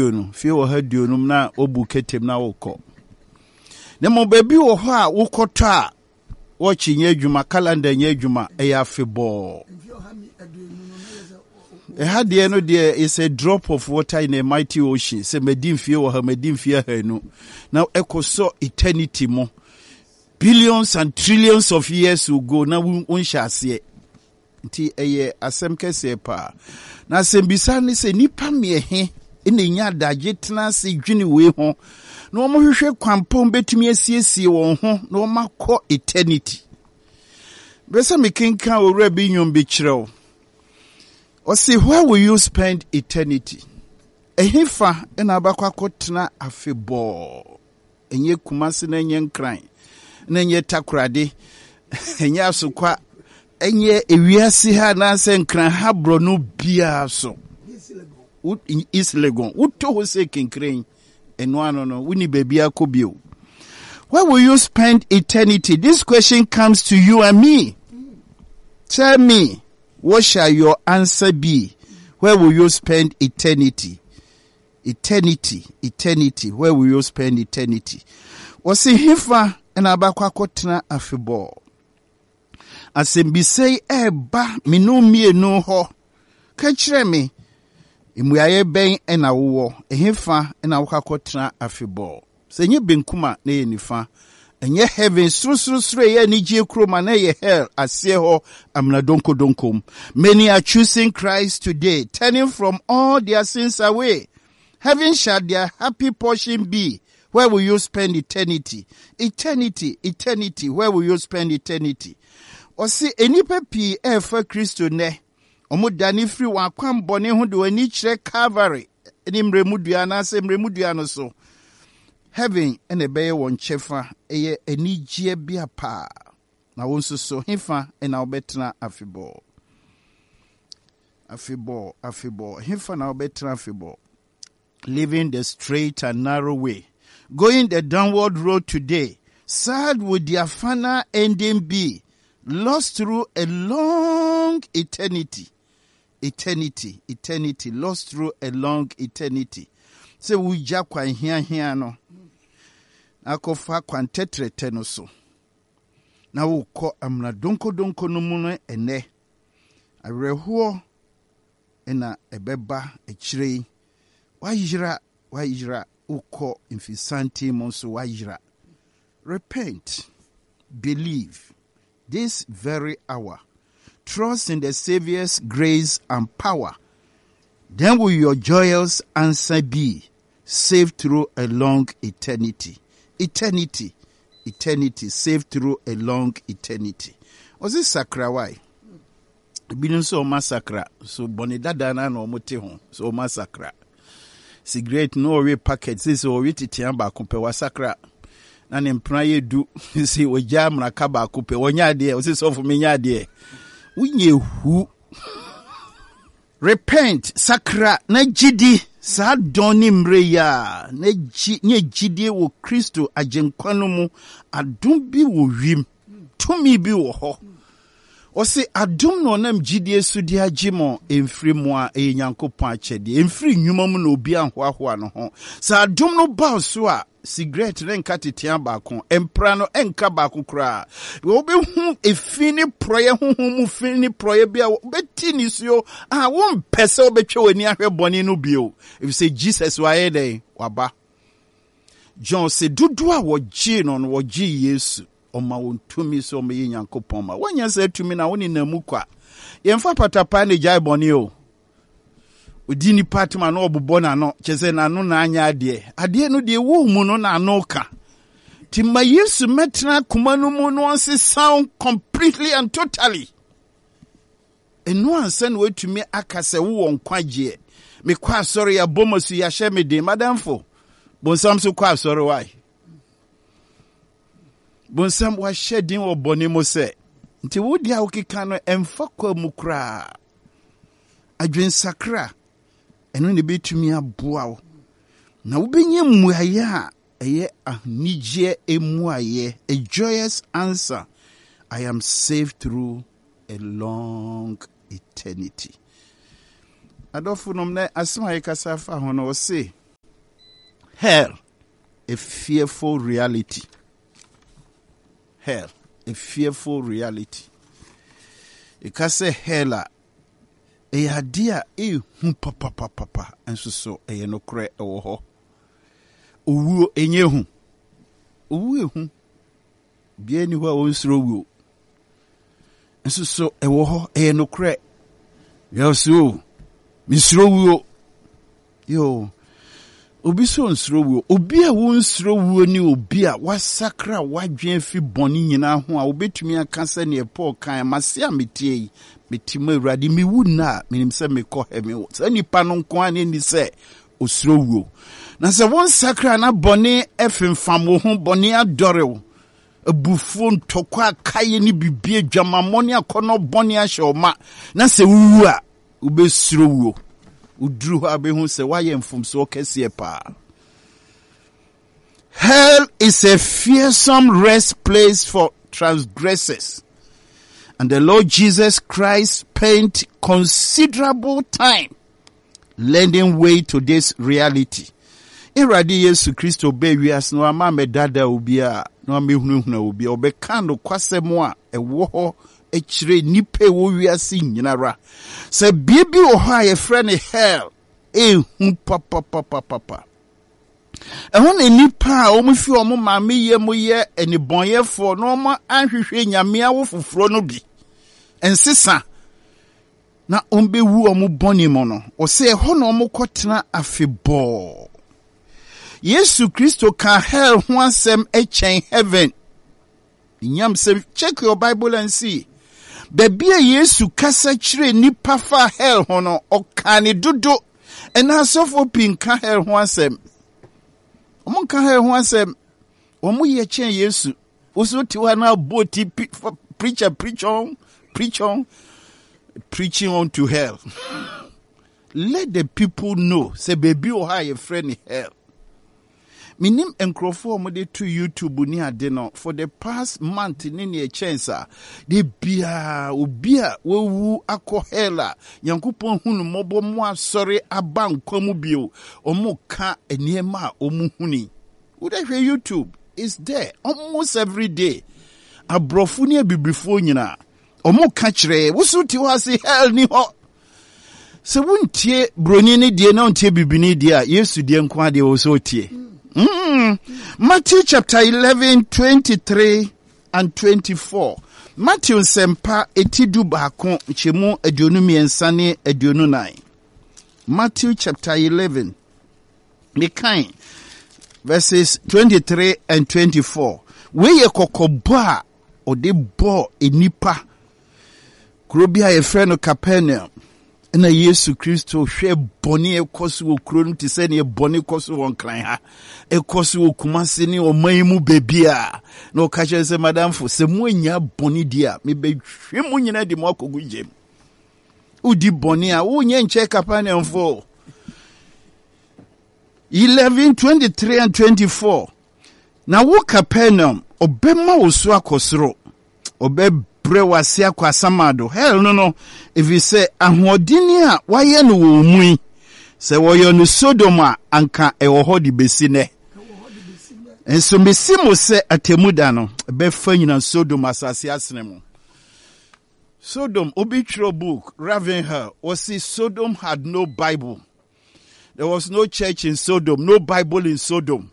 No fie wɔ ha 50 na wobu ketem na wokɔ. Na mmom baabi wɔ hɔ a wokɔtɔ a, wɔkye nyɛ adwuma, calendar nyɛ adwuma, ɛyɛ afebɔɔ. Ɛha deɛ no deɛ is a drop of water in a mighty ocean. Sɛ madi mfie wɔ ha, madi mfie 200 na ɛkɔ sɔ eternity mu, billions and trillions of years will go na wonhyɛ aseɛ. Nti ɛyɛ asɛm kɛseɛ paa. Na asɛmbisa ne sɛ, nnipa mmiɛhe na ɛnya adagye tena ase dwene wei ho na wɔhwehwɛ kwampɔn bɛtumi asiesie wɔn ho na wɔakɔ eternity? Bɛ sɛ mekenkan owura bi nnwom bi kyerɛ wo. Ɔse, "Where will you spend eternity?" Ɛhefa na abakɔ akɔtena afebɔɔ? Ɛnyɛ Kumase na ɛnyɛ Nkran na ɛnyɛ Takorade, ɛnyɛ Asokwa, ɛnyɛ ewiase ha anaasɛ Nkran ha borɔno biara so. East Legon wotɔ hɔ sɛ kenkren ɛno ano no, woni baabi akɔ bio. Where will you spend eternity? This question comes to you and me. Tell me, what shall your answer be? Where will you spend eternity? Eternity, eternity, where will you spend eternity? Wɔsi hefa na abakɔ akɔtena afebɔɔ? Asɛmbisa yi ɛreba me no mmienu hɔ. Ka kyerɛ me, mmuaeɛ bɛn na wowɔ? Ɛhefa na wokɔ akɔtena afebɔɔ? Sɛ ɛnyɛ benkum a, na ɛyɛ nifa. Ɛnyɛ heaven sorosorosoro ɛyɛ anigye kurom a, na ɛyɛ hell aseɛ hɔ amena donkodonkom. Many are choosing Christ today, turning from all their sins away. Heaven shall their happy portion be. Where will you spend eternity? Eternity, eternity, where will you spend eternity? Ɔse nnipa pii ɛrefa Kristo nnɛ. Ɔmo dane firi wɔn akwammɔne ho de wɔn ani kyerɛ Calvary ne mmerɛmu dua anaasɛ mmerɛmu dua no so. Heaven ɛna ɛbɛyɛ wɔn kyɛfa, ɛyɛ anigyeɛ bea paa. Na wo nso so, hefa ɛna wobɛtena afebɔɔ? Afebɔɔ, afebɔɔ, hefa na wobɛtena afebɔɔ? Living the straight and narrow way, going the downward road today, sad would their final ending be, lost through a long eternity. Eternity, eternity, lost through a long eternity. Sɛ wogya kwan hiahia no akɔfa kwan tɛtrɛtɛ no so na wokɔ amena donkodonko no mu no, ɛnɛ awerɛhoɔ na ɛbɛba akyire yi. Wayera, wayera, wokɔ mfisanten mu nso wayera. Repent, believe this very hour, trust in the Saviour's grace and power. Then will your joyous answer be, saved through a long eternity. Eternity, eternity, saved through a long eternity. Ɔse sakra wae. Ebinom nso ɔma sakra so bɔne dada na ɔmo te ho so ɔma sakra. Cigarette no ɔwe packet sɛ ɔwe tetea baako pɛ, wasakra. Na ne mpena yɛ du sɛ ɔgya mmaraka baako pɛ, wɔnyɛ adeɛ. Ɔsɛ sɔfo menyɛ adeɛ, wonyɛ hu. Repent, sakra na gyidi saa dɔn ne mmerɛ yi a na gyi nye gyidie wɔ Kristo Agyenkwa no mu. Adom bi wɔ wiem, tumi bi wɔ hɔ. Ɔse adom na ɔnam gyidie so de agye mo, ɛmfiri mu a ɛyɛ Nyankopɔn akyɛdeɛ, ɛmfiri nnwuma mu na obi anhoahoa no ho. Sɛ adom no ba so a, cigarette ne nka tetea baako, mpra no nka baako koraa. Wobɛhu efi ne porɔeɛ, honhom mu fi ne porɔeɛ bi a wobɛti nisuo a wompɛ sɛ wobɛtwa w'ani ahwɛ bɔne no bio, ɛfiri sɛ Jesus wayɛ dɛn? Waba. John sɛ dodoɔ a wɔgyee no no, wɔgyee Yesu, ɔma wɔn tumi sɛ ɔmɛyɛ Nyankopɔn ma. Wɔnyɛ sɛ tumi na wone nam mu kwa. Yɛmfa patapaa ne gyae bɔne o. Odi nipa atem na ɔbobɔ n'ano kyerɛ sɛ n'ano na anyɛ adeɛ. Adeɛ no deɛ ɛwɔ mu no n'ano ka. Nti ma Yesu mɛtena akoma no mu na ɔnsesa completely and totally. Ɛno ansa na watumi aka sɛ wowɔ nkwagyeɛ. Mekɔ asɔre, yɛabɔ ma su, yɛahyɛ me den. Madamfo, bonsam so kɔ asɔre wae. Bonsam wahyɛ din wɔ bɔne mu sɛ nti wo deɛ a wokeka no ɛmfa kwa mu koraa. Adwensakra ɛno na ɛbɛtumi aboa wo na wobɛnya mmuaeɛ a ɛyɛ anigyeɛ mmuaeɛ, a joyous answer: I am saved through a long eternity. Adɔfo nom, na asɛm a yɛkasa fa ho no, ɔse Hell, a fearful reality. Hell, a fearful reality. Ɛka sɛ hell a, ɛyɛ adeɛ a ɛhu papapapapa nso so ɛyɛ nokorɛ ɛwɔ hɔ. Owuo ɛnyɛ hu. Owuo ɛhu. Obiara nni hɔ a ɔnsuro wuo. Nso so ɛwɔ hɔ, ɛyɛ nokorɛ. Yɛsɛ o, mesuro wuo. Yo, obi so nsuro wuo. Obi a wonsuro wuo ne obi a wasakra wadwen afi bɔne nyinaa ho a wobɛtumi aka sɛ neɛ Paul kan, mase a metie yi, mete mu Awurade, mewu nna a, menim sɛ mekɔ heaven. Saa nipa no nko ara ne ni sɛ osuro wuo. Na sɛ wonsakra na bɔne femfam wo ho, bɔne adɔre wo, abufuo, ntɔkwa, akaeɛ ne biribi, adwamammɔ ne akɔnnɔ bɔne ahyɛ wo ma, na sɛ wowu a, wobɛsuro wuo. Woduru hɔ a wobɛhu sɛ woayɛ mfomsoɔ kɛseɛ paa. Hell is a fearsome rest place for transgressors. And the Lord Jesus Christ spent considerable time lending way to this reality. Awurade Yesu Kristo bɛɛ wiase no ama mɛdada obi a na wamɛhunahuna obi a ɔbɛka nokwasɛm a ɛwɔ hɔ kyerɛ nnipa ɛwɔ wiase nyinara. Sɛ bea bi wɔ hɔ a yɛfrɛ no hell, ɛhu papapapapa. Ɛhɔ na nnipa a wɔfi wɔn maame yam yɛ nnebɔneyɛfoɔ na wɔn anhwehwɛ nyame awo foforɔ no bi nsesa na wɔbɛwu wɔn bɔne mu no, ɔsɛ ɛhɔ na wɔkɔtena afebɔɔ. Yesu Kristo ka hell ho asɛm kyɛn heaven. Nyam sɛ check your Bible and see. Baabi a Yesu kasa kyerɛ nnipa fa hell ho no, ɔkaa ne dodo. Ɛna asɔfoɔ pii nka hell ho asɛm. Wɔn nka hell ho asɛm. Wɔn yɛ kyɛn Yesu. Woso te hɔ na abɔ ti preacher preach on, preach on, preaching on to hell. Let the people know sɛ baabi wɔ hɔ a yɛfrɛ no hell. Menim nkurɔfoɔ a wɔde to YouTube ne ade no for the past month ne neɛ ɛkyɛn saa. De biara obi a wawu akɔ hell a Nyankopɔn hu no mmɔbɔ mo asɔre aba nkwa mu bio. Wɔn ka nneɛma a wɔn huni. Wode hwɛ YouTube is there almost every day. Aborɔfo ne abibifoɔ nyinaa wɔn ka kyerɛ woso te hɔ ase hell ni hɔ. Sɛ wontie broni ne deɛ na wontie bibini deɛ a Yesu deɛ nko adeɛ wɔ sɛ otie. Mm. Matthew chapter 11 23 and 24. Matthew nsɛmpa eti 11 nkyɛmu 23 ne 24. Matthew chapter 11 mekan verses 23 and 24. Wei yɛ kɔkɔbɔ a ɔde bɔɔ nnipa. Kuro bi a yɛfrɛ no Capernaum na Yesu Kristo hwɛ bɔne ɛkɔ so wɔ kuro no te sɛ neɛ bɔne kɔ so wɔ Nkran ha, ɛkɔ so wɔ Kumase ne ɔman yi mu baabi a, na ɔka kyerɛ sɛ madamfo, sɛ moannya bɔne di a, mebɛhwe mo nyinaa de mo akɔgu gyam. Wodi bɔne a, wonyɛ nkyɛ Capernaumfoɔ. 11, 23 and 24. Na wo Capernaum, ɔbɛma wo so akɔ soro, ɔbɛbrɛ wo ase akɔ asamando, hell no no, ɛfiri sɛ ahoɔdenne a wɔayɛ no wɔ wo mu yi, sɛ wɔyɛ no Sodom a, anka ɛwɔ hɔ de bɛsi nnɛ. Nso mese mo sɛ atemmu da no, ɛbɛfa nyina Sodom asase asene mo. Sodom, obi twerɛ book, Ravenhill, wɔse Sodom had no Bible. There was no church in Sodom, no Bible in Sodom.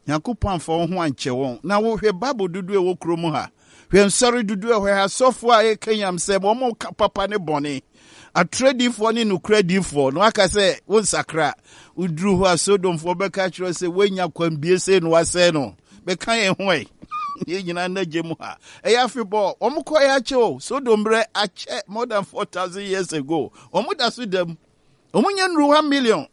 Nyankopɔn amfa wɔn ho ankyɛ wɔn. Na wohwɛ Bible dodoɔ ɛwɔ kurom ha. Hwɛ nsɔre dodoɔ ɛwɔ ha. Asɔfoɔ a ɛka nyamsɛm, wɔn ka papa ne bɔne. Atorɔdifoɔ ne nokorɛdifoɔ. Na waka sɛ wonsakra. Woduru hɔ a Sodomfoɔ bɛka kyerɛ sɛ woanya kwanbie sei na wasɛe no. Bɛka yɛn ho ɛ. Yɛn nyinaa nna gye mu ha. Ɛyɛ afebɔɔ. Wɔn kɔɛ akyɛ o. Sodom berɛ akyɛ more than 4,000 years ago. Wɔn da so da mu. Wɔn nyɛ nnuru 1 million.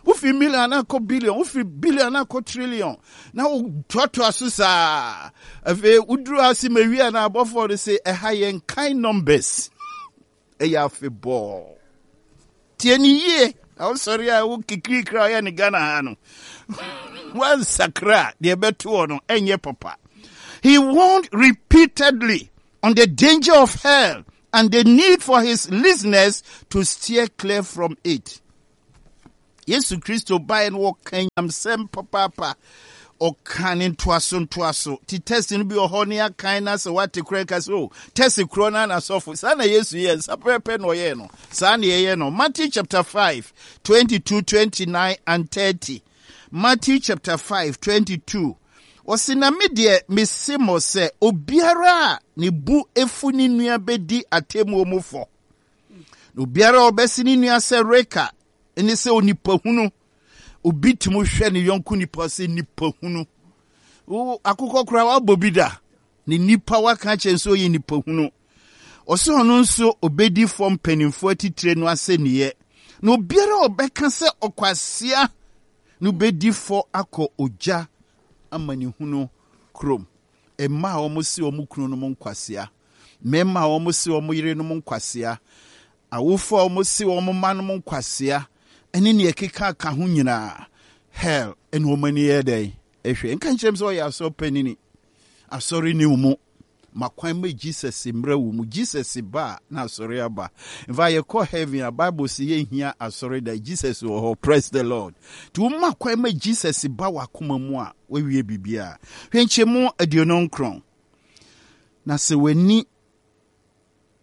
Wofi million na akɔ billion, wofi billion na akɔ trillion, na wotoatoa so saa. Afei woduru ase ma wie a na abɔfoɔ no se ɛha yɛn kan numbers. Ɛyɛ afebɔɔ. Tie ne yie. Na wosɔre a wo kikirikiri a ɔyɛ ne Ghana ha no. Wansakra a deɛ ɛbɛtoɔ no ɛnyɛ papa. He warned repeatedly on the danger of hell and the need for his listeners to steer clear from it. Yesu Kristo baeɛ no wɔka nyamsɛm papaapa. Ɔka ne ntoaso ntoaso. Ti test no bi wɔ hɔ ne akan na sɛ wate koraa ka sɛ o test korɔ no na sɔfo. Saa na Yesu yɛ nsa pɛpɛ na ɔyɛɛ no. Saa na yɛyɛ no. Matthew chapter 5, 22, 29 and 30. Matthew chapter 5, 22. Ɔse na me deɛ mese mo sɛ obiara a ne bu efu ne nua bɛdi atemmuo mu fɔ. Na obiara a ɔbɛse ne nua sɛ reka ne sɛ onipa hunu. Obi tumi hwɛ ne yɔnko nipa sɛ nipa hunu. Wo akokɔ koraa wabɔ bi da. Ne nipa waka akyerɛ nso ɔyɛ nipa hunu. Ɔsɛ ɔno nso obedi fɔ mpanimfoɔ atitire no asɛnniiɛ. Na obiara a ɔbɛka sɛ ɔkwasea no bedi fɔ akɔ ogya amanehunu kurom. Mmaa a wɔse wɔn kununom nkwasea, mmarima a wɔse wɔn yerenom nkwasea, awofo a wɔse wɔn mmanom nkwasea, ne nea ɛkeka ka ho nyinaa, hell ɛna wɔn ani yɛ dɛn? Ɛhwɛ. Nka nkyerɛ m sɛ ɔyɛ asɔre panini. Asɔre ni wo mu. Ma kwan ma Jesus mmra wo mu. Jesus ba a, na asɔre aba. In fact, yɛkɔ heaven a, Bible sɛ yɛnhia asɔre da. Jesus wɔ hɔ. Praise the Lord. Nti woma kwan ma Jesus ba w'akoma mu a, wawie biribiara. Hwɛ nkyɛmu 29. Na sɛ w'ani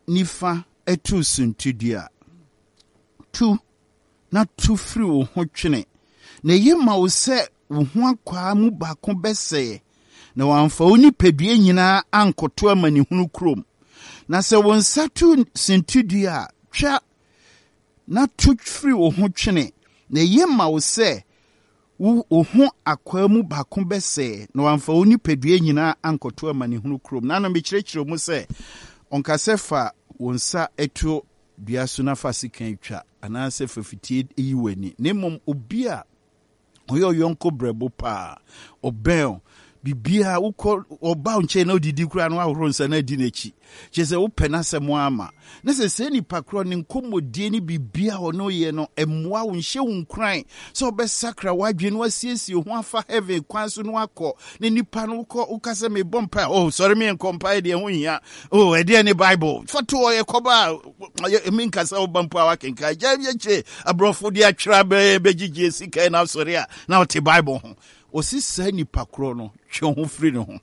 nifa tu suntidua a, tu na tu firi wo ho twene, na eye ma wo sɛ wo ho akwaa mu baako bɛsɛeɛ, na wɔamfa wo nipadua nyinaa ankɔto amanehunu kurom. Na sɛ wo nsa tu sintidua a, twa na to firi wo ho twene, na eye ma wo sɛ wo wo ho akwaa mu baako bɛsɛe, na wɔamfa wo nipadua nyinaa ankɔto amanehunu kurom. Na ano mekyerɛkyerɛ mu sɛ, ɔnka sɛ fa wo nsa to dua so na fa sekan twa, anaasɛ fa fitie yi w'ani, na mmom obi a ɔyɛ ɔyɔnko brɛbo paa, ɔbɛn o, biribiara wokɔ ɔba wo nkyɛn na odidi koraa na wahoro nsa na adi n'akyi, kyerɛ sɛ wopɛ n'asɛm ama. Na sɛ saa nipa korɔ ne nkɔmmɔdie ne biribiara a ɔne yɛ no mmoa wo, nhyɛ wo nkuran sɛ wobɛsakra w'adwene na wasiesie ho afa heaven kwan so na wakɔ, na nipa no wokɔ woka sɛ mebɔ mpae, oh sɔre me nkɔ mpae deɛ ho hia, oh ɛdeɛ ne Bible fa to hɔ yɛkɔba a menka sɛ woba mpo a wakenkan gya yɛkyɛ aborɔfo de atwerɛ bɛyɛ bɛgyegye sika na asɔre a na ɔte Bible ho. Ɔsi saa nipa korɔ no twe ho firi ne ho.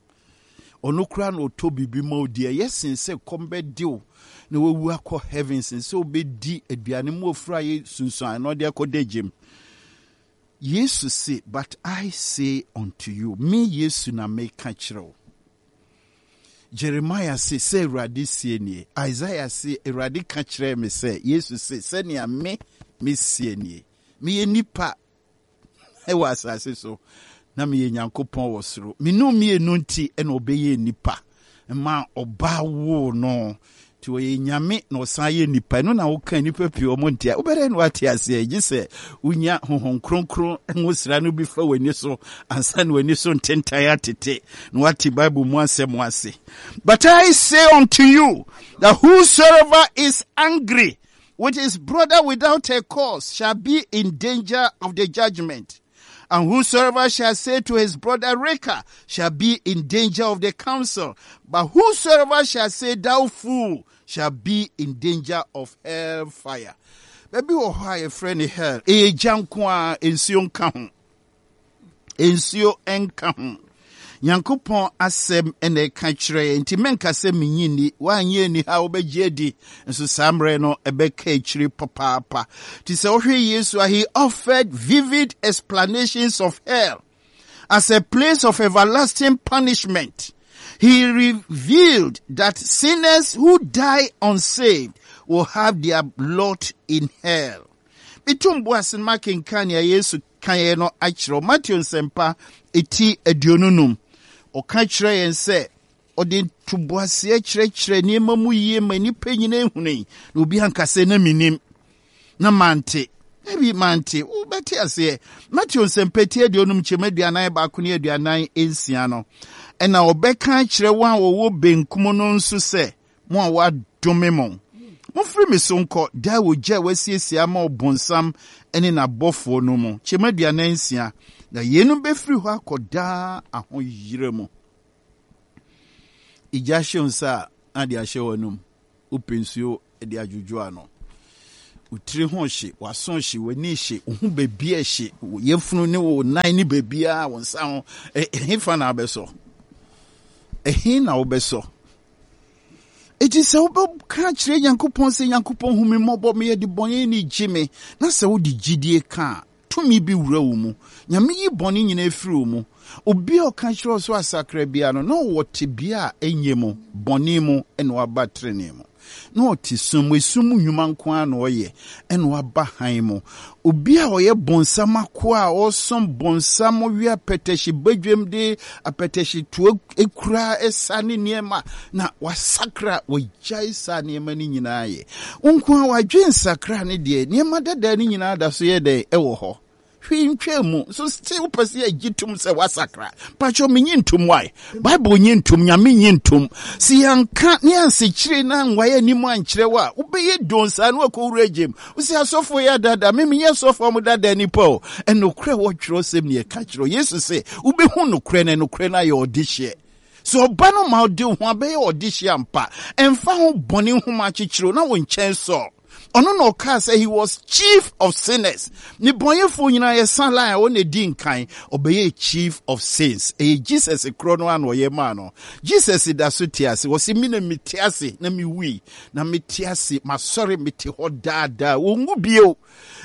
Ɔno koraa na ɔtɔ biribi ma wo di. Ɛyɛ sen sɛ kɔm bɛde wo na wawu akɔ heaven sen sɛ wobɛdi aduane mu ofura yɛ sunsuan na ɔde akɔda gyem. Yesu se, but I say unto you, me Yesu na meka kyerɛ wo. Jeremiah se, sɛ Awurade sie nie. Isaiah se, Awurade ka kyerɛɛ me sɛ, Yesu se, sɛnea me mesie nie. Meyɛ nipa wɔ asase so, na meyɛ Nyankopɔn wɔ soro. Me no mmienu nti na ɔbɛyɛɛ nipa ma ɔbaa woo no. Nti ɔyɛ Nyame na ɔsan yɛ nipa. Ɛno na woka nipa pii ɔmo nte a wobɛdɛn na wate aseɛ? Gye sɛ wonya Honhom Kronkron ngosra no bi fa w'ani so ansa na w'ani so ntentan atete na wate Bible mu asɛm ase. But I say unto you that whosoever is angry with his brother without a cause shall be in danger of the judgment. And whosoever shall say to his brother Raca shall be in danger of the council. But whosoever shall say, Thou fool, shall be in danger of hell fire. Baabi wɔ hɔ a yɛfrɛ no hell. Ɛyɛ gya nko ara, nsuo nka ho. Nsuo nka ho. Nyankopɔn asɛm na ɛka kyerɛ yɛn, nti mɛnka sɛ menyi nni. Woanyɛ ani ha wobɛgye adi, nso saa mmerɛ no ɛbɛka akyiri papaapa. Nti sɛ wohwɛ Yesu a, he offered vivid explanations of hell as a place of everlasting punishment. He revealed that sinners who die unsaved will have their lot in hell. Metum bo ase no makenkan nea Yesu kaeɛ no akyerɛ wo. Mateo Nsɛmpa ti 25. Ɔka kyerɛ yɛn sɛ ɔde ntoboaseɛ kyerɛkyerɛ nneɛma mu yie ma nnipa nyinaa hunui, na obi anka sɛ na menim na mante. Dabi, mante. Wobɛte aseɛ. Mateo Nsɛmpa ti 50 nkyɛmu 41 ne 46 no, ɛna ɔbɛka akyerɛ wɔn a wɔwɔ benkum no nso sɛ, Mo a wɔadome mo, momfiri me so nkɔ daa ogya a wɔasiesie ama ɔbonsam ne n'abɔfoɔ no mu, kyɛm 46, na yeinom bɛfiri hɔ akɔ daa ahoyera mu. Egya hye wo nsa a, na de ahyɛ w'anom, wopɛ nsuo de adwodwo ano. Wo tiri ho hye, w'aso hye, w'ani hye, wo ho baabi hye, wo yafunu ne wo nan ne baabiara, wo nsa ho. Ɛhefa na wobɛsɔ? Ɛhe na wobɛsɔ? Enti sɛ wobɛka akyerɛ Nyankopɔn sɛ, Nyankopɔn hu me mmɔbɔ, meyɛ debɔneyɛni, gye me, na sɛ wode gyidie ka a, tumi bi wura wo mu. Nyame yi bɔne nyinaa firi wo mu. Obi a ɔka kyerɛ wo sɛ wasakra biara no, na ɔwɔ tebea a ɛnyɛ mu, bɔne mu, na waba trenee mu. Na ɔte sum mu, esum mu nnwuma nko ara na ɔyɛ, ɛna waba hann mu. Obi a ɔyɛ bonsam akoa a ɔresom bonsam, ɔwe apɛtɛhye badwam de apɛtɛhye toa kura ɛsa ne nneɛma, na wasakra, wagyae saa nneɛma no nyinaa yɛ. Wo nko ara wadwe nsakra ne deɛ, nneɛma dada no nyinaa da so yɛ dɛn ɛwɔ hɔ. Hwee ntwaa mu. So still wopɛ sɛ yɛgye tom sɛ woasakra? Mpakyɛw menye ntom why? Bible nye ntom, Nyame nye ntom. Sɛ yɛanka ne yɛansekyere na anwae anim ankyerɛ wo a, wobɛyɛ don saa na wakɔwura gyem. Wo sɛ asɔfoɔ yɛ adaadaa me, menyɛ asɔfoɔ a wɔdaadaa nnipa o. Ɛnokorɛ wɔ twerɛsɛm ne yɛka kyerɛ wo. Yesu se, wobɛhu nokorɛ na nokorɛ no ayɛ ɔdehyeɛ. Sɛ ɔba no ma wode wo ho abɛyɛ ɔdehyeɛ ampa, ɛmfa ho bɔne nhoma akyekyere wo na wo nkyɛn sɔ. Ɔno na ɔkaa sɛ he was chief of sinners. Nnebɔneyɛfoɔ nyinaa yɛsa line a ɔna ɛdi nkan. Ɔbɛyɛɛ chief of sins. Ɛyɛ Jesus korɔ no ara na ɔyɛ maa no. Jesus da so te ase. Ɔse me na mete ase na mewui na mete ase, masɔre mete hɔ daa daa. Ɔnwu bio.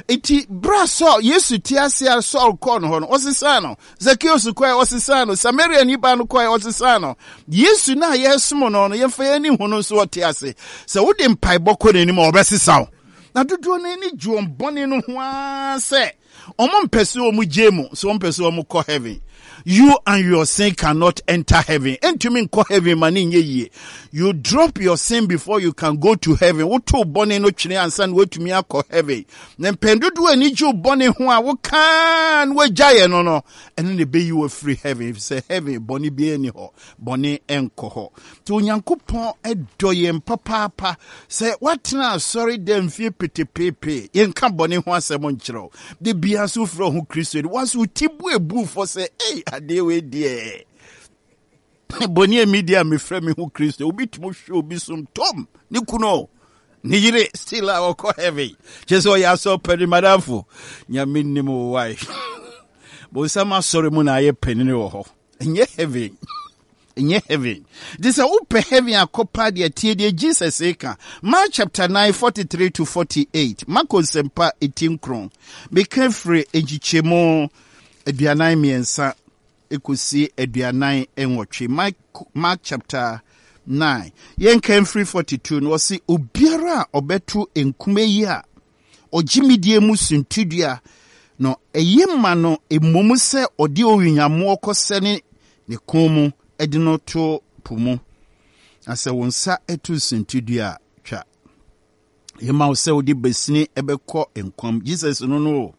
Enti berɛ a Saul, Yesu te ase a Saul kɔɔ no hɔ no, ɔsesaa no. Zakeus kɔɛ, ɔsesaa no. Samariani baa no kɔɛ, ɔsesaa no. Yesu no a yɛresom no no, yɛmfa yɛn ani hu no nso ɔte ase. Sɛ wode mpaebɔ kɔ n'anim a, ɔbɛsesa wo. Na dodoɔ no ani gye wɔn bɔne no ho ara sɛ wɔn mpɛ sɛ wɔn gye mu, sɛ wɔn mpɛ sɛ wɔn kɔ heaven. You and your sin cannot enter heaven. Entumi nkɔ heaven ma ne nyɛ yie. You drop your sin before you can go to heaven. Woto bɔne no twene ansa na woatumi akɔ heaven. Na mpɛn dodoɔ ani gye wo bɔne ho a wokaa na woagyaeɛ no no, ɛno na ɛbɛyi wo afiri heaven, efisɛ heaven bɔne biara nni hɔ. Bɔne nkɔ hɔ. Nti Onyankopɔn dɔ yɛn papaapa. Sɛ woatena asɔre dɛ mfie petepeepee, yɛnka bɔne ho asɛm nkyerɛ wo. Da biara nso wofrɛ wo ho Kristoni, wo nso wo ti bu ebu fɔ sɛ, ei, adeɛ wei deɛ. Bɔne a medi a mefrɛ me ho Kristo. Obi tumi hwɛ obi som tom, ne kunu ne yere still a ɔkɔ heaven. Kyerɛ sɛ ɔyɛ asɔre panin madamfo. Nyame nim wo wae. Bonsam asɔre mu na ayɛ panini wɔ hɔ. Ɛnyɛ heaven. Ɛnyɛ heaven. Nti sɛ wopɛ heaven akɔ paa deɛ tie deɛ Jesus reka. Mark chapter 9 43 to 48. Marko nsɛmpa eti nkron. Meka firi nkyekyɛmu 43 kɔsi 48. Mark, Mark chapter 9. Yɛnka mfiri 42 no ɔse obiara a ɔbɛto nkume yi a ɔgye me die mu suntidua no, eye ma no mmom sɛ ɔde owiyammoɔ kɔsɛne ne kɔn mu de no to po mu. Na sɛ wo nsa to suntidua a, twa. Eye ma wo sɛ wode basini bɛkɔ nkwa mu, Jesus no no o,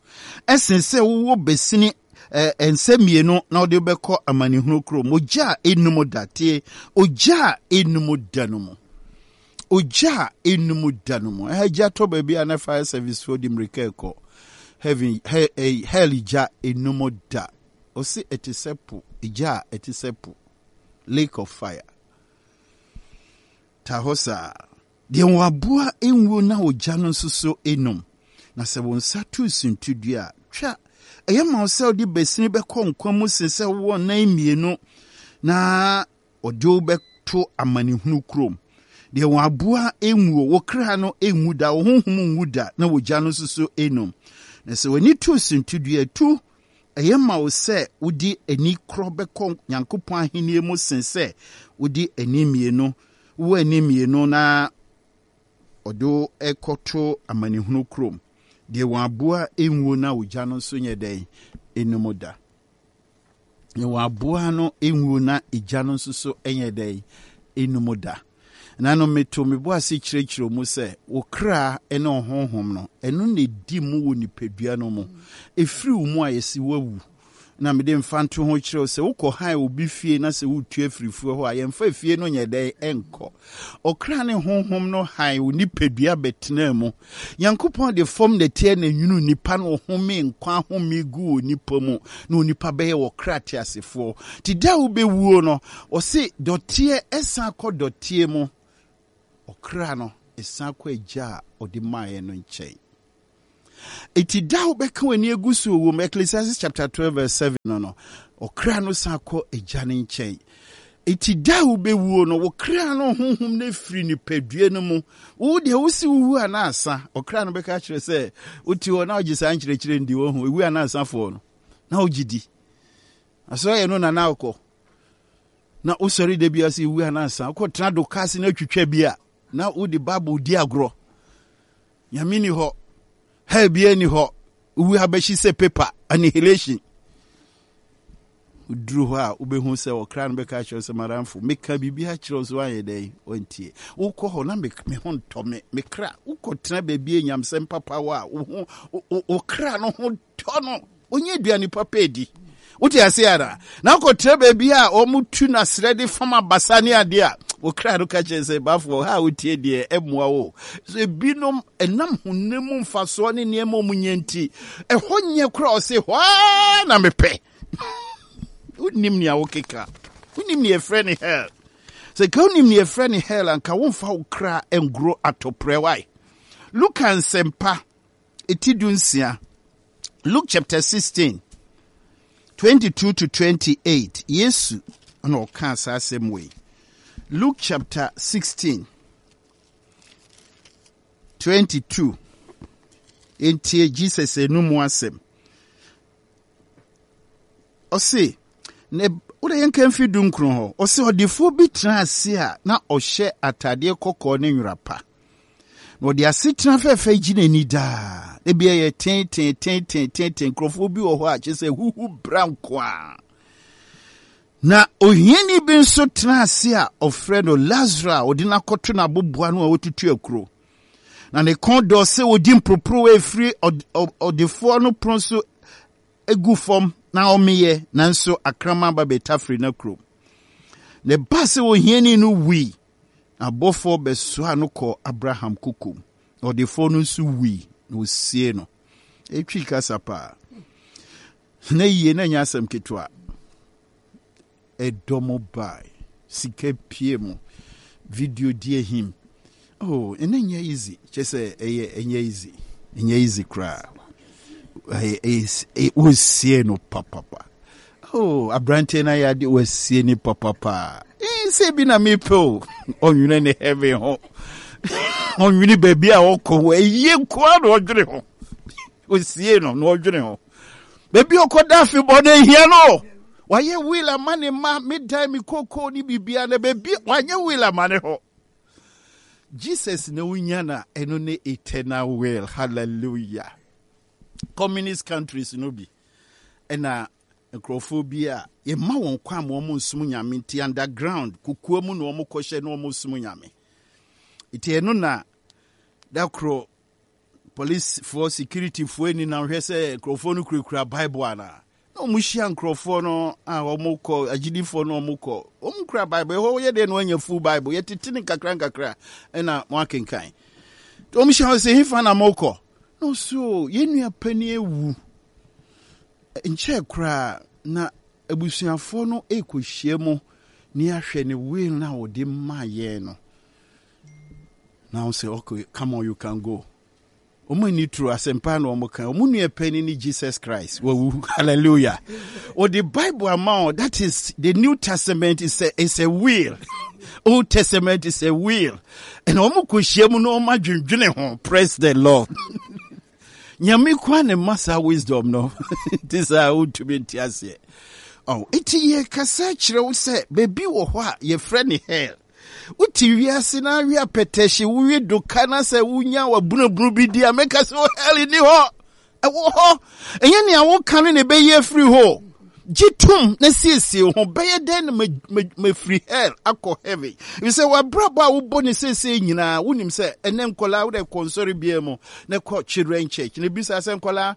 ɛsen sɛ wowɔ basini eh, nsa mmienu na wode bɛkɔ amanehunu kurom, ogya a ennum da, tie, ogya a ennum da no mu. Ogya a ennum da no mu. Ɛha gya tɔ baabi a na fire service foɔ de mmirika ɛkɔ. Heaven, he, eh, hell gya ennum da. Ɔse ɛte sɛ po, gya a ɛte sɛ po. Lake of fire. Ta hɔ saa. Deɛ wɔn aboa nwuo na ogya no nso so enum. Na sɛ wo nsa to suntidua a, twa. Ɛyɛ ma wo sɛ wode basini bɛkɔ nkwa mu sen sɛ wowɔ nan mmienu na Ɔde wo bɛto amanehunu kurom. Deɛ wɔn aboa nwuo, wo kra no nwu da, wo honhom nwu da, na wo gya no nso so nnum. Na sɛ w'ani to suntidua tu, ɛyɛ ma wo sɛ wode ani korɔ bɛkɔ Nyankopɔn ahennie mu sen sɛ wode ani mmienu, wowɔ ani mmienu na ɔde wo kɔto amanehunu kurom. Deɛ wɔn aboa nwuo na wo gya no nso nyɛ dɛn? Nnum da. Na wɔn aboa no nwuo na egya no nso so nyɛ dɛn? Enum da. Na no meto me bo ase kyerɛkyerɛ mu sɛ wo kra ne wo honhom no, ɛno na edi mu wɔ nipadua no mu. Efiri wo mu a yɛsi wawu. Na mede mfanto ho kyerɛ wo sɛ wokɔ han obi fie na sɛ woretu afiri fie hɔ a, yɛmfa fie no nyɛ dɛn? Ɛnkɔ. Ɔkra ne honhom no han wo nipadua bɛtenaa mu. Nyankopɔn de fam nɛteɛ na nwunu nipa na ɔhome nkwa ahome gu onipa mu na onipa bɛyɛ ɔkra teasefoɔ. Nti da a wobɛwuo no, ɔse dɔteɛ ɛsan kɔ dɔteɛ mu, ɔkra no ɛsan kɔ agya a ɔde maeɛ no nkyɛn. Eti da a wobɛka w'ani agu so wɔ mu, Ecclesiastes chapter 12 verse 7 no no, ɔkra no san kɔ agya no nkyɛn. Eti da a wobɛwuo no, wo kra no honhom no afiri nipadua no mu. Wo deɛ wosi wowu a na asa. Ɔkra no bɛka kyerɛ sɛ wote hɔ na wogye saa nkyerɛkyerɛ ndi wɔ ho, ewu a na asafoɔ no, na wogye di. Asɔre yɛ no na na wokɔ. Na wosɔre da bi ase ewu a na asa. Wokɔtena do kaa se na atwitwa bi a, na wode Bible di agorɔ. Nyame ni hɔ. Hell biara ni hɔ. Wowu abɛhye sɛ paper, annihilation. Woduru hɔ a, wobɛhu sɛ ɔkra no bɛka akyerɛ sɛ, madamfo, meka biribi akyerɛ wo sɛ woanyɛ dɛn? Wantie. Wokɔ hɔ na me ho ntɔ me, me kra. Wokɔtena baabi a nyamsɛm papa wɔ a, wo ho, wo kra no ho tɔ no. Ɔnyɛ aduane papa adi. Wote ase ara? Na wokɔtra baabi a wɔtu no asrɛ de fam abasa ne adeɛ a, wo kra no ka kyerɛ sɛ, bafoɔ, ha a wotie deɛ ɛmmoa wo. So ebinom ɛnam honam mu mfasoɔ ne nneɛma a wɔnyɛ nti, ɛhɔ nyɛ koraa ɔse hɔ ara na mepɛ. Wonim nea wokeka. Wonim nea yɛfrɛ ne hell. Sɛ ka wonim nea yɛfrɛ ne hell anka womfa wo kra ngoro atɔprɛ wae. Luka nsɛmpa eti dunsia, Luke chapter 16, 22 to 28, Yesu na ɔkaa saa asɛm wei. Luke chapter 16, 22, ntie Jesus enum asɛm. Ɔse, na wode yɛnka mfi dunkron hɔ. Ɔse ɔdefoɔ bi tena ase a na ɔhyɛ atadeɛ kɔkɔɔ ne nwera pa. Na ɔde asetena fɛfɛ gye n'ani daa. Ebi ɛyɛ tenten tenten tenten nkurɔfoɔ bi wɔ hɔ a kyerɛ sɛ huhu bra nko a. Na ohiani bi nso tena ase a ɔfrɛ no Lazaro a ɔde no akɔto n'aboboa no a ɔtutu akuro. Na ne kɔn dɔ sɛ ɔdi mporoporowa ɛfiri ɔdefoɔ no pono so gu fam na ɔmeyɛ, nanso akraman ba bɛtafere n'akuro. Na ɛbaa sɛ ohiani no wui, na abɔfoɔ bɛsoaa no kɔɔ Abraham kokom. Na ɔdefoɔ no nso wui, na wɔsiee no. Ɛtwi kasa paa. Na yie na ɛnyɛ asɛm ketewa. Ɛdɔm bae, sika pue mu, video di ahim. Oh, ɛnɛ nyɛ easy. Kyɛ sɛ ɛyɛ ɛnyɛ easy. Ɛnyɛ easy koraa. Ɛyɛ wɔsie no papapa. Oh, aberanteɛ no ayɛ ade wɔasie ne papapa. Eh, sɛ bi na mepɛ o. Ɔnwene ne heaven ho. Ɔnwene baabi a ɔkɔ ho. Ɛyie nkoa na ɔdwene ho. Osie no na ɔdwene ho. Baabi ɔkɔda afebɔɔ no ahia no. Wayɛ will ama ne mma, me dan, me kokoo ne biribiara na baabi wanyɛ will ama ne ho. Jesus na wonya na ɛno ne eternal will. Hallelujah. Communist countries no bi ɛna nkurɔfoɔ bi a yɛma wɔn kwan ma wɔn nsom nyame nti underground kokoa mu na wɔn kɔhyɛ na wɔn som nyame. Nti ɛno na da koro Policefoɔ, securityfoɔ ani na hwɛ sɛ nkurɔfoɔ no kurakura Bible anaa. Na wɔn hyia nkurɔfoɔ no a wɔn kɔ, agyidifoɔ no wɔn kɔ, wɔn kura Bible. Ɛhɔ yɛ deɛ na wɔanya full Bible. Yɛtete ne nkakra nkakra ɛna wɔn akenkan. Nti wɔn hyia wɔn sɛ hefa na mokɔ? Na ɔso yɛn nua panin awu. Nkyɛɛ koraa na abusuafoɔ no rekɔhyia mu ne ahwɛ ne will no a wɔde maa yɛn no. Na wɔn sɛ, okay, come on, you can go. Wɔn ani turu asɛmpa na wɔn ka. Wɔn nua panyin ne Jesus Christ. Wawu. Hallelujah. Wɔde Bible ama wɔn. That is the New Testament is a is a will. Old Testament is a will. And wɔn kɔ hyia mu na wɔn adwendwene ho. Praise the Lord. Nyame kwa ne ma saa wisdom no. Nti saa wontumi nte aseɛ. Oh, nti yɛkasa kyerɛ wo sɛ baabi wɔ hɔ a yɛfrɛ ne hell. Wote wiase na awe apɛtɛhye, wowe doka na sɛ wonya wabunabunu bi di a, mɛka sɛ oh, hell nni hɔ. Ɛwɔ hɔ. Ɛnyɛ nea woka no na ɛbɛyi afiri hɔ. Gye tom na siesie ho. Bɛyɛ dɛn na mafiri hell akɔ heaven? Efisɛ w'abrabɔ a wobɔ ne seesei nyinaa, wonim sɛ ɛnɛ nkɔlaa wode kɔ nsɔre biara mu na kɔ children church na bisa sɛ nkɔlaa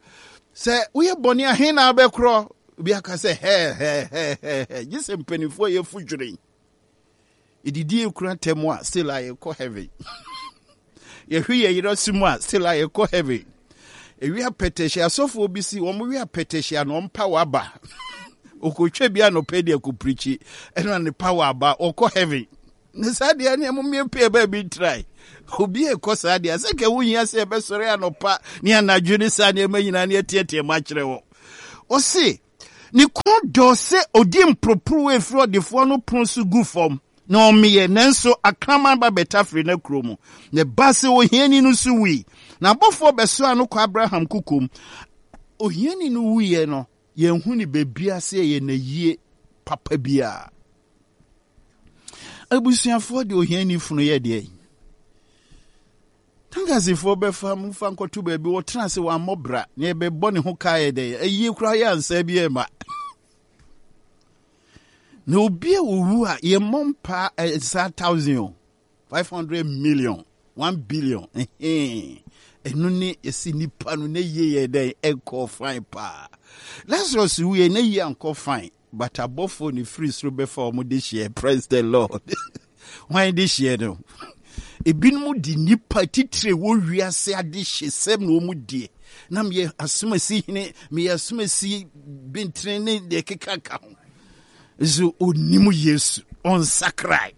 sɛ woyɛ bɔne a he na wobɛkorɔ? Obi aka sɛ hell hell hell hell. Gye sɛ mpanimfoɔ yɛ fo dwene. Yɛdidi yɛ kunu atɛm a still a yɛkɔ heaven. Yɛhwe yɛ yerɛ so mu a still a yɛkɔ heaven. Ewi apɛtɛhyɛ asɔfoɔ bi si wɔn wi apɛtɛhyɛ a na wɔn power aba. Okotwa bi anɔpɛ de akɔpirikyi ɛna ne power aba ɔkɔ heaven. Ne saa deɛ ne ɛmo mmea baabi ntrae. Obi ekɔ saa deɛ sɛ kɛ wohia sɛ ɛbɛsɔre anɔpa ne anadwo ne saa nneɛma nyinaa ne ɛteɛteɛ mu akyerɛ wɔ. Ɔse ne kɔn dɔ sɛ odi mporoporowa efiri ɔdefoɔ no pono so gu fam na ɔmeyɛ, nanso akraman ba bɛtafere n'akuro mu. Na ɛbaa sɛ ohiani no nso wui, na abɔfoɔ bɛsoaa no kɔ Abraham kokom. Ohiani no wuiɛ no, yɛnhu ne baabiara sɛ ɛyɛ n'ayie papa biara. Abusuafoɔ de ohiani funu yɛ deɛ. Tankasifoɔ bɛfa mu fa nkɔto baabi wɔtena ase wɔammɔ bra na yɛbɛbɔ ne ho ka yɛ dɛ ayie koraa yɛ ansa bi ɛma. Na obi a owu a yɛmmɔ mpa saa thousand o 500 million 1 billion ɛno ne yɛsi nipa no ne yie yɛ dɛn ɛnkɔ fine paa. Lazarus wuiɛ ne yie ankɔ fine, but abɔfoɔ ne firi soro bɛfa wɔn de hyeɛ. Praise the Lord. Hwan de hyeɛ no? Ebinom de nipa titire wɔ wiase ade hye sɛm na wɔn die. Na meyɛ asomasi hene, meyɛ asomasi bentene ne deɛ keka ka ho. So onim Yesu, ɔnsakrae.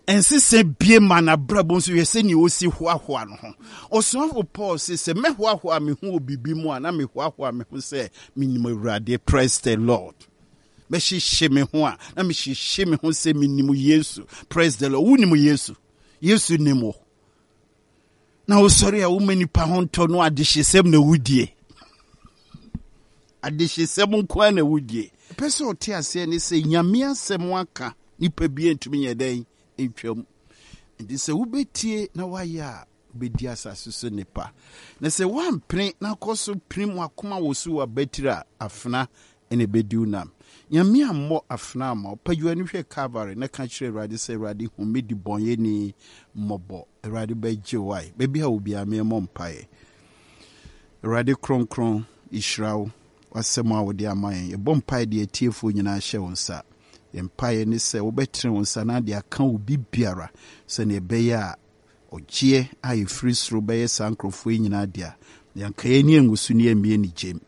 Ɛnsesɛ bie ma n'abrabɔ nso hwɛ sɛnea ɔsi hoahoa no ho. Ɔsomafo Paul se, sɛ mɛhoahoa me ho wɔ biribi mu a, na mehoahoa me ho sɛ menim Awurade. Praise the Lord. Mɛhyehye me ho a, na mehyehye me ho sɛ menim Yesu. Praise the Lord. Wonim Yesu. Yesu nim wo. Na wosɔre a woma nipa ho ntɔ no, adehyesɛm na wodie. Adehyesɛm nko ara na wodie. Pɛ sɛ ɔte aseɛ ne sɛ Nyame asɛm aka nipa bi ntumi nyɛ dɛn ntwam. Nti sɛ wobɛtie na woayɛ a, wobɛdi asase so nnepa. Na sɛ woampene na akɔ so pirim w'akoma wɔ so wɔ abatiri a, afena na ɛbɛdi wo nam. Nyame ammɔ afena amma wo. Pagya w'ani hwɛ Calvary na ka kyerɛ Awurade sɛ, Awurade, hu me debɔnyɛni mmɔbɔ. Awurade bɛgye wo ae. Baabi a wɔ biara, meemmɔ mpaeɛ. Awurade kronkron, yɛhyira wo, w'asɛm a wode ama yɛn. Yɛbɔ mpaeɛ de atiefoɔ nyinaa hyɛ wo nsa. Yɛn mpaeɛ ne sɛ wobɛtene wo nsa na ade aka obi biara sɛnea ɛbɛyɛ a ɔgyeɛ a ɛfiri soro bɛyɛ saa nkurɔfoɔ yi nyinaa dea. Yɛnka yɛn ani angu so ne yɛmmie ne gyem.